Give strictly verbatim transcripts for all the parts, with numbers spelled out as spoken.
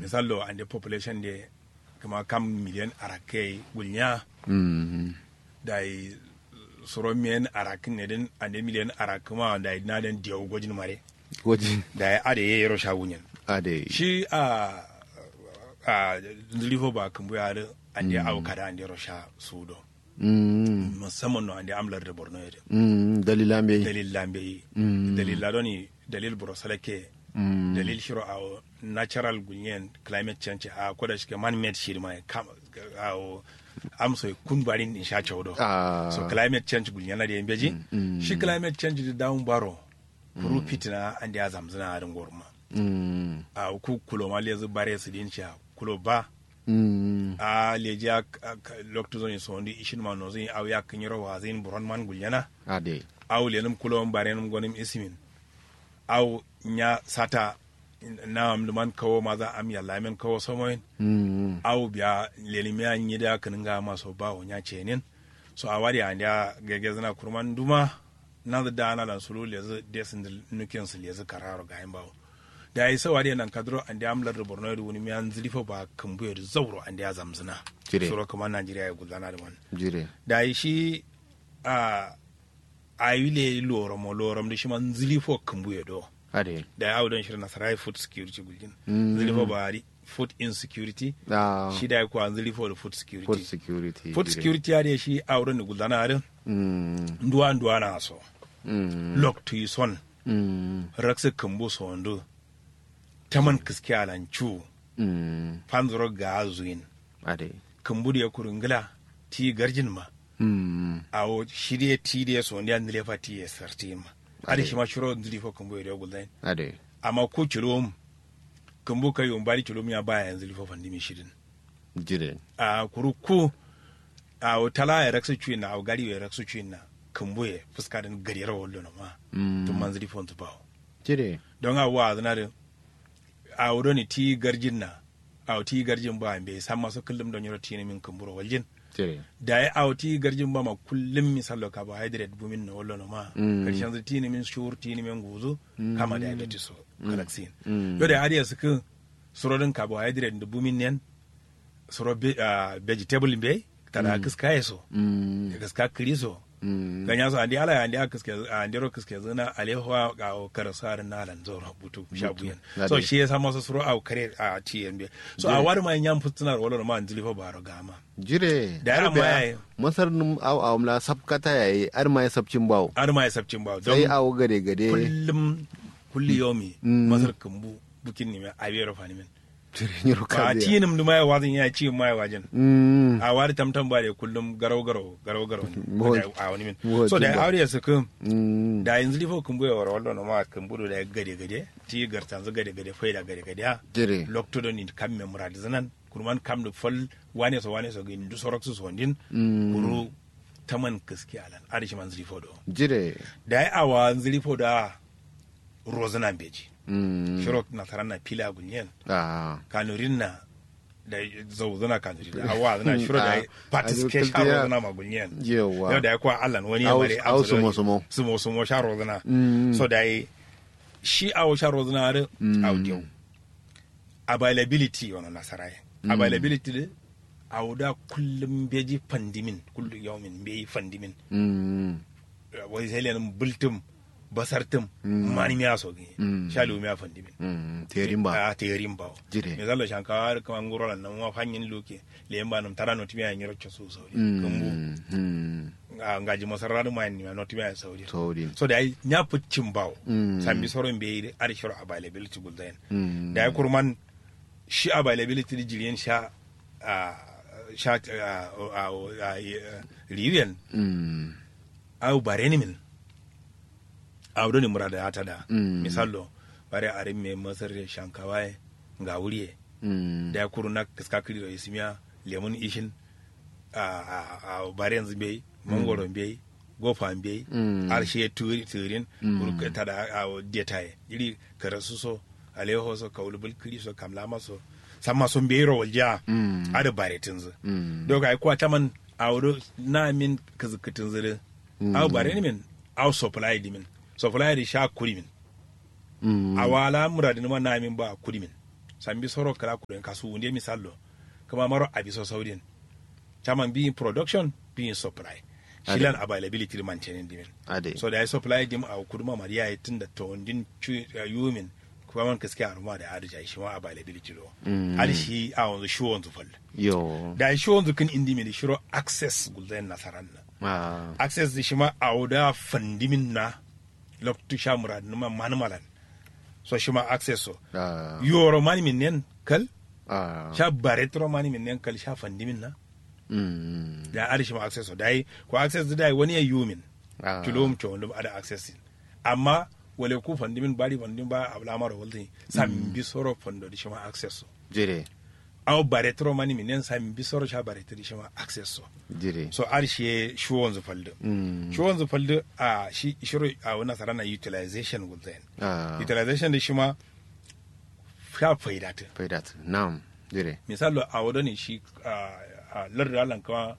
Misallo ande population de kǝma kam miliyan arakkǝ yayi gulnya. Dayi suro miyan arakkǝ ne dǝn ande miliyan arakkǝ ma dayi na dǝn diyawu gojin mare. Gojin. Dayi ade ye yero sha wunyen. Ade shi a a nzǝlifo ba kǝmbuye adǝ ande awo kada ande ro sha suwudo. Musamman no ande am lardǝ borno ye dǝ. Dalil la mbeyi. Dalil la mbeyi. Dalil la doni dalil buro salake. Dalil shiro awo natural gulnyen climate change a koda shike man made shiri ma kam awo amso kun barin din sha chaudo. So climate change gulnyen na de mbeji. Shi climate change dǝ dawun baro kuru fitina ande azamzǝna adǝ ngoruma. Awo ku kulo ma lezǝ bare sǝdin sha kulo ba. A leji a loktu zoni sondu ishin ma nozin awo yakkǝ nyiro wazin buron man gulnyena. Awo lenǝm kulowon barenǝm gonǝm isimin. Awo nya sata na am luman kawo maza am yalla men kawo somoyin. Awo biya lenimiya nyida kǝnǝnga maso bawo nya cenin. So awa de andiya gegezǝna kurman duma. Nanzǝ dana lan sulu lezǝ desǝndǝ nukinsu lezǝ kararo gayin bawo. Dayi sau adǝ ye nankadǝro ande am lardǝ borno ye dǝ wunimiya nzǝlifo ba kǝmbuye dǝ zauro ande azamzǝna. Suro kǝma najeriya ye gulzana dǝ man. Dayi shi a awi leyi loromo lorom dǝ shima nzǝlifo kǝmbuye do. Dayi awo don shiro nasara ye food security guljin. Nzǝlifo ba adǝ food insecurity. Shi dayi kwa nzǝlifo dǝ food security. Food security adǝ ye shi awo don dǝ gulzana adǝ nduwa nduwa na so. Loktu yi son. Raksǝ kǝmbu sondu. Taman kǝske alan cu. Fanzuro ga zuyin. Kǝmbu dǝ ye kuru ngla ti garjin ma. Awo shi dǝ ye ti dǝ ye sondiya nǝlefa ti ye sartiyin ma. Adǝ shima shiro nzǝlifo kǝmbu ye dǝ ye gulzayin. Amma ku culum kǝmbu kai yumbari culum ya baya ye nzǝlifo fandimin shidin. Jire. Ahh kuru ku. Awo tala ye raksu cuwinna awo gari ye raksu cuwinna. Kǝmbu ye fuska dǝn gadero wallono ma. Tumma nzǝlifonzǝ bawo. Jire. Don awo wa'azǝna dǝ. Awo done ti garjinna. Awo ti garjin ba mbeyi samma so kǝllum do nyiro tinǝmin kǝmburo waljin. Dayi awo ti garjin ba ma kullum misallo carbohydrate bumin no wallono ma. Karshenzu tinǝmin shur tinǝmin guzu. Kama diabetes so kalaksin. Yo dayi adǝ ye sǝkkǝ. Suro dǝn carbohydrate ndǝ bumin nen. Suro vegetable mbeyi. Tada kǝska ye so. Kǝska kǝri so. Ganya so ande ala ye ande a kǝske ande ro kǝske zǝna aleho a awo karasu adǝ na lan zoro butu sha buyen. So shi ye samma so suro awo kare a ti ye mbeyi. So awo adǝ ma ye nyam futsǝna ro wallo ma nzǝlifo baro gama. Jire. Dayi amma yayi. Masar nǝm awo awomla sapkata yayi adǝ ma ye sapcin bawo. Adǝ ma ye sapcin bawo sai awo gade gade. Kullum. Kulli yomi. Masar kǝmbu. Bukin nime awi yero fanimin. Ba tinǝm dǝ ma ye wazǝn ya ciyim ma ye wajin. Awo adǝ tamtam ba de kullum garau garau garau garau. Awonimin. So dayi awo dǝ ye sǝkkǝ. Dayi nzǝlifo kǝmbu ye woro wallono ma kǝmbu do dayi gade gade. Ti gartanzǝ gade gade faida gade gade a. Loktu done kam me muradǝ zǝnan. Kurman kam dǝ fal wane so wane so gǝyi nduso raksǝ sondin. Kuru taman kǝske alan adǝ shima nzǝlifo do. Jire. Dayi awo a nzǝlifo do a. Rozǝna mbeji. Shiro nasaran na pila gulnyen. Kanurin na. Dayi zauzǝna kanurin na awo wazǝna shiro dayi. Patiske sha rozǝna ma gulnyen. Yau dayi kwa allan wani yamma dai amsa dai sumo sumo sha rozǝna. So dayi shi awo sha rozǝna adǝ. Awo diyau. Availability wano nasara ye. Availability dǝ. Awo da kullum mbeji fandimin kullum yaumin mbeji fandimin. Wai sai lenǝm bǝltǝm basartǝm. Manimiya so gǝnye sha luwumiya fandimin. Teyerin ba a teyerin bawo. Jire. Misallo shankawa adǝ kǝma nguro lan namuma fanyin luke. Leyin ba nǝm tada notimiya nyiro cosu saudi kǝmbu. Ngaji masarra dǝ mayin nimiya notimiya saudi. So dayi nya fǝccin bawo. Sambi soro mbeyi dǝ adǝ shiro availability gulzayin. Dayi kurman shi availability dǝ jiriyen sha. Sha riwiyen. Awo barenǝmin. Awo done murada ya tada. Misallo bare arin me masar ye shankawa ye. Ngawuri ye. Dayi kuru na kǝska kǝri ro isimiya. Lemun ishin. Awo barenzu mbeyi. Mangoro mbeyi. Gofa mbeyi. Har shiye tǝrin. Kuru tada awo deta ye jiri. Karasu so. Aleho so kaulu bulkǝri so kamlama so. Samma so mbeyi ro waljiya. Adǝ baretǝnzǝ. Dau gayi kuwa taman. Awo do namin kǝzǝkkǝtǝnzǝ dǝ. Awo barenǝmin. Awo supply dǝmin. Supply dǝ sha kudimin. Awo ala muradǝnǝma namin ba kudimin. sambi soro kǝla kuren kasuwu nde misallo. Kǝma maro abiso saudin. Caman biyin production, biyin supply. Shilan availability dǝ mantenin dimin. So dayi supply dim awo kuduma mari yayi tunda towondin cu yumin. Kǝma man kǝske aruma da adǝ jayi shima availability do. Adǝ shi awonzǝ shiwonzǝ fal. Dayi shiwonzǝ kǝn indimin shiro access gulzayin nasaran na. Access dǝ shima awo da fandimin na. Loktu sha muradǝ nǝma manǝmalan. So shima access so. Yoro manimin nen kal. Sha baretǝro manimin nen kal sha fandimin na. Dayi adǝ shima access so dayi ko access dǝ dayi wani ye yumin. Culum cowondum adǝ access din. Amma wale ku fandimin bari fandimin ba ablamaro walzǝ. Sambi soro fando dǝ shima access so. Jire. Awo baretǝro manimin nen sambi soro sha baretǝ dǝ shima access so. Jire. So adǝ shiye shiwonzǝ faldǝ. Shiwonzǝ faldǝ a shi shiro awo nasarana utilization gulzayin. Utilization dǝ shima sha faidatǝ. Faidatǝ nam. Jire. Misallo awo done shi lardǝ alan kǝma.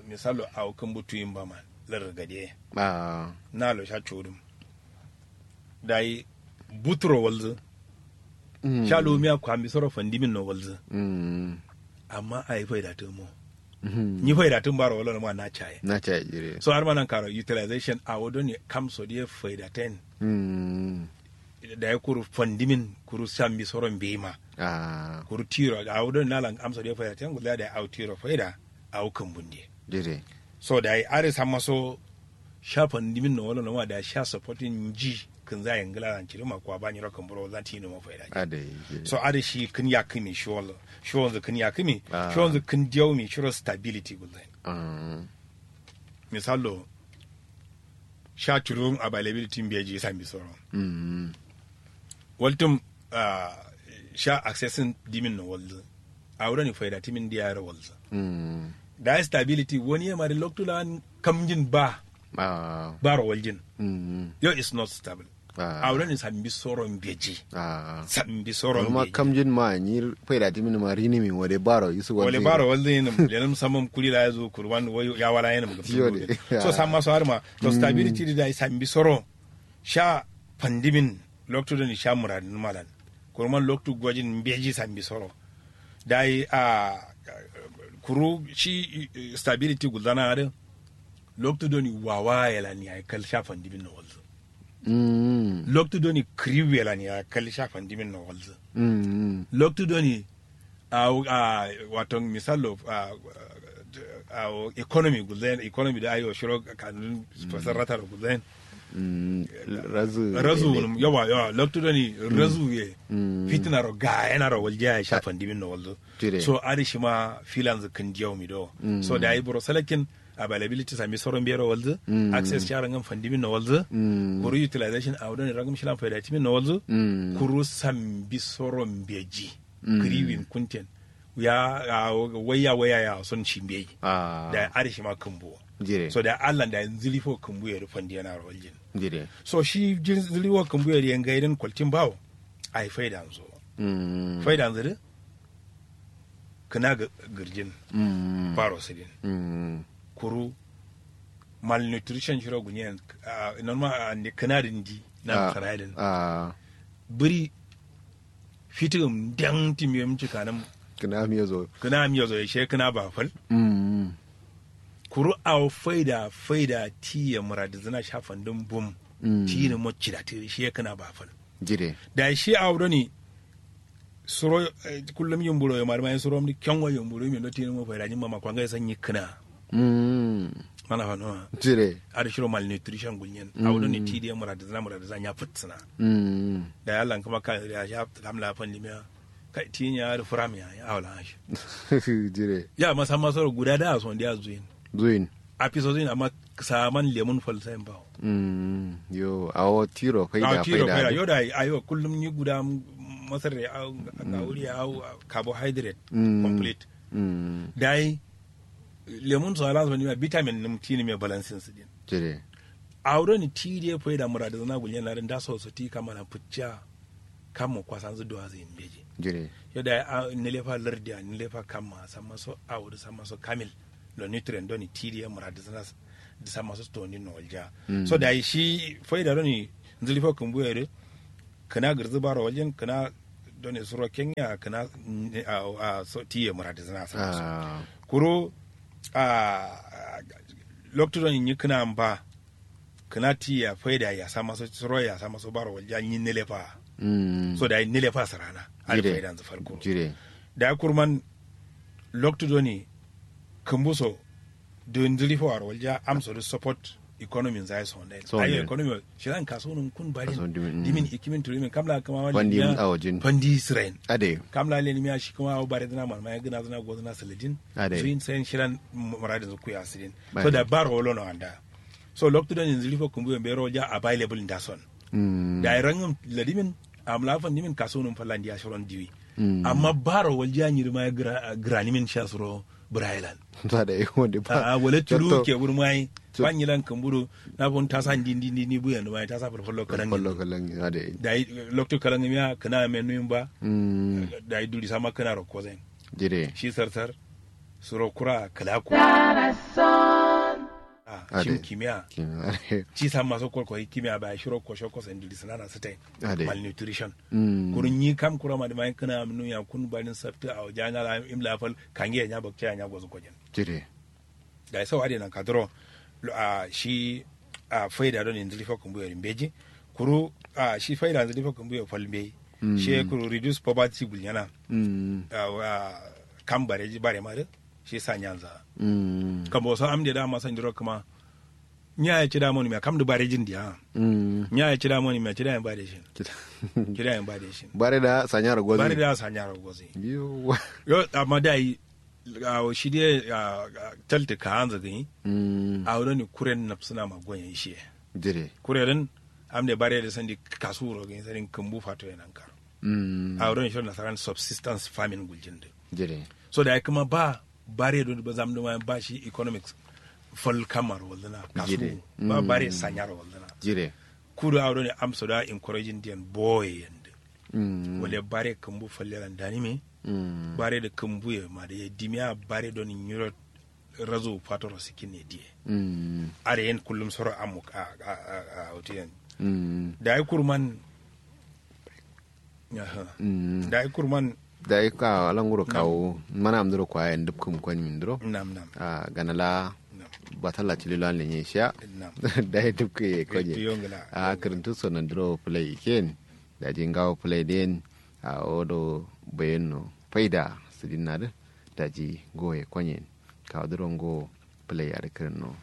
Misallo awo kǝmbu tuyin ba man lardǝ gade. Nalo sha codum. Dayi buturo walzǝ. Sha lumiya kwambi soro fandimin no walzǝ. Amma ayi faidatǝ mo. Nyi faidatǝn baro wallo nǝma na caye. Na caye jire. So adǝma nankaro utilization awo done kamso diye faidaten. Dayi kuru fandimin kuru sambi soro mbeyima. Kuru tiro awo done nalan amso diye faidaten gulza dayi awo tiro faida. Awo kǝmbun diye. Jire. So dayi adǝ samma so sha fandimin no wallo noma dayi sha supporting nji. Kǝnza ye ngǝla lan ciri ma kuwa ba nyiro kǝmburo walzan tiyinǝ ma faida. So adǝ shi kǝn yakkǝmi shiwonzǝ kǝn yakkǝmi. Shiwonzǝ kǝn diyaumi shiro stability gulzain. Misallo sha curun availability mbeji sambi soro. Waltǝm sha accessing dimin no walzǝ. Awo done faida timin diya yero walzǝ. Dayi stability wani ye mari loktu lan kamjin ba. Baro waljin. Yo is not stable. Awo done sambi soro mbeji. Sambi soro mbeji. Kamjin ma nyi faida timin ma rinimi wale baro isu walzǝ. Wale baro walzǝ yinǝm lenǝm samam kuli la yazu kurwan wayo yawala yinǝm gabsǝ. So samma so adǝma to stability dǝ dayi sambi soro. Sha fandimin loktu done sha muradǝ nǝma lan. Kurman loktu gojin mbeji sambi soro. Dayi a kuru shi stability gulzana adǝ. Loktu done wawaye lan yayi kal sha fandimin no walzǝ. Loktu done kǝriwuye lan yayi kal sha fandimin no walzǝ. Loktu done awo a wato misallo a awo economy gulzain economy dǝ ayo shiro kanun fasarrata ro gulzain. Razu razu wunum yawa yawa loktu done razu ye. Fitina ro gayena ro waljiya ye sha fandimin no walzǝ. So adǝ shima filanzǝ kǝn diyaumi do. So dayi buro salakin availability sambi soro mbero walzǝ. Access sharo ngan fandimin no walzǝ. Kuru utilization awo done rangǝm shilan faida timin no walzǝ. Kuru sambi soro mbeji. Kǝriwin kunten ya waiya waiya ya son shi mbeyi. Dayi adǝ shima kǝmbuwo. So dayi allan dayi nzǝlifo kǝmbuye dǝ fandiye naro waljin. So shi nzǝlifo kǝmbuye dǝ ye ngaidin kwaltin bawo. Ayi faidanzo. Faidanzo dǝ kǝna gǝrjin. Baro sǝdin. Kuru malnutrition shiro gulnyen. Nonma ande kǝna dǝ ndi na saraidin. Bǝri fitǝgǝm ndeng timiyom cikanǝm. Kǝna miyozo kǝna miyozo ye she kǝna ba fal. Kuru awo faida faida tiye muradǝzǝna sha fandǝm bum. Tiyinǝ mo cidatǝ she kǝna ba fal. Jire. Dayi shi awo done suro kullum yimburoye madǝma ye surom dǝ kengo yimburoye min do tiyinǝ mo faida nyimma ma kwa ngai sanyi kǝna. Mana fanowa. Jire. Adǝ shiro malnutrition gulnyen awo done tidǝ ye muradǝzǝna muradǝzǝna nya fǝtsǝna. Dayi allan kǝma ka ya sha kam la fandimiya. Kai tinya adǝ furam ya ya awo lan ashi. Jire. Ya masamma soro guda da a sondiya zuyin. Zuyin. Afiso zuyin amma saman lemun falsayin bawo. Yo awo tiro faida faida yo da ayo kullum nyi guda masarre awo gawuri awo carbohydrate. Complete. Dayi lemun so alanso nima vitamin nǝm tinǝm ye balansin sǝdin. Jire. Awo done tidǝ ye faida muradǝzǝna gulnyen adǝ ndaso so ti kamma lan fǝcciya. Kammo kwasanzǝ duwazǝ yin mbeji. Jire. Yo dayi nǝlefa lardiya nǝlefa kamma samma so awo dǝ samma so kamil. Lo nutrient done tidǝ ye muradǝzǝna dǝ samma so towondin no waljiya. So dayi shi faida done nzǝlifo kǝmbuye dǝ kǝna gǝrzǝ baro waljin kǝna Done suro kenya kǝna a so tiye muradǝ zǝna sǝna so kuru a loktu done nyi kǝna mba kǝna tiya faida ya sama so suro ya sama so baro walja nyi nilefa so da nilefa sǝrana. Ada faida nzǝ falkuro jire da kurman loktu done kǝmbu so dǝ ndǝri fo aro walja amso dǝ support economy nzaye so ndai ayo economy shilan kaso nun kun barin dimin ikimin turimin kamla kama wani fandi awajin fandi israel ade kamla le nimiya shi kuma awo bare dina man maya gina zina go zina saladin ade zuin sayin shilan muradin zuku ya sidin so da baro wolo no anda so loktu don yanzu rifo kumbu yambe ro ja available nda son da rangum ladimin amla fandi min kaso nun falandi ya shiron diwi amma baro walja nyiri maya granimin sha suro brailan ta da yi wanda ba a wala tulu ke wuri mai ban yilan kamburu na fun tasa ndi ndi ndi ndi buyan mai tasa falfallo kalan fallo kalan ya da yi da lokto kalan miya kana men nuyin ba da yi duri sama kana roko zan dire shi sarsar suro kura kalaku a shim kimiya ci sama so kol ko kimiya ba shiro ko shoko sen duri sanana sitai malnutrition kurun yi kam kura ma da mai kana nuya kun barin safta a jana la imla fal kange ya nya bakce ya nya gozo kojin jire da ya sau ade nan kaduro a shi a faida don yanzu lifa kumbu ya rimbeji kuru a shi faida yanzu lifa kumbu ya falmbe shi kuru reduce poverty gulyana kam bare ji bare ma shi sa nyanza kambo so amde da ma san diro kuma nya ya ci da moni me kam du bare jin dia nya ya ci da moni me ci da bare shin ci da bare shin bare da sanyar gozi bare da sanyar gozi yo amma dai awo shi dai talta ka hanza gani awo don kuren nafsuna ma goyen shi dire kure din amde bare da sandi kasuro gani sarin kambu fato yanan kar awo don shi nasaran subsistence farming guljin da dire so da kuma ba bare don ba zam da ba shi economics fal kamar wallana kasu ba bare sanyar wallana dire kudu awo don amso da encouraging den boye yanda wale bare kambu falle ran dani me bare da kambu ya ma da ya dimiya bare don nyiro razo fatoro sikin ne diye are yen kullum soro amuk a a a hotiyan da ai kurman da ai kurman da ai ka alanguro kawo mana amduro kwaya ndubkum kwan minduro nam nam a ganala batalla tililo an lenye shiya da ai dubke kanye a kirintu sonan duro play ken da ji ngawo play den a odo bayenno faida sidinna din daji goye konyen kawo duro ngo play adǝ kirinno